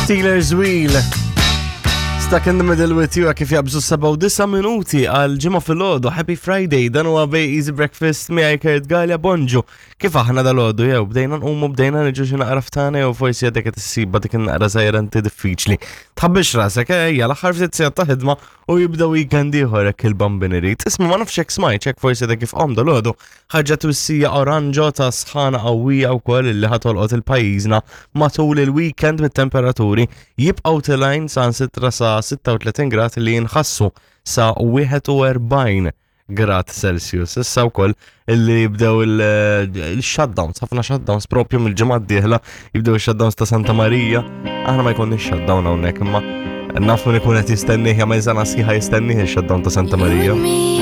Steelers Wheel. Stuck in the middle with you kif jabżu 97 minuti għal ġimgħa filgħodu. Happy Friday, dan huwa bej Easy Breakfast miegħi Kurt Gallia Bonġu. Kif aħna dal-għodu jew bdejna nqumu bdejna niġu xi naqra ftana jew forsi għadek qed issibha dik in-naqra żgħira inti diffiċli. Tħabbix rasek, ejja l-aħħar ftit sigħat ta' ħidma u jibda weekend ieħor hekk il-bambin irid. Isma' ma nafx hekk smajt hekk forsi għadek kif qom dal-għodu ħarġet twissija oranġo ta' sħana qawwija wkoll li ħatolqot il-pajjiżna matul il-weekend bit-temperaturi jibqgħu tilgħin sa 6 sa 36 grad li jinħassu sa 41 grad Celsius. Issa wkoll illi jibdew il-shutdowns, ħafna shutdowns propju mill-ġimgħa d-dieħla jibdew il-shutdowns ta' Santa Marija. Aħna ma jkollniex shutdown hawnhekk imma naf min ikun qed jistennih jagħmel sena sħiħa jistennih il-shutdown ta' Santa Marija.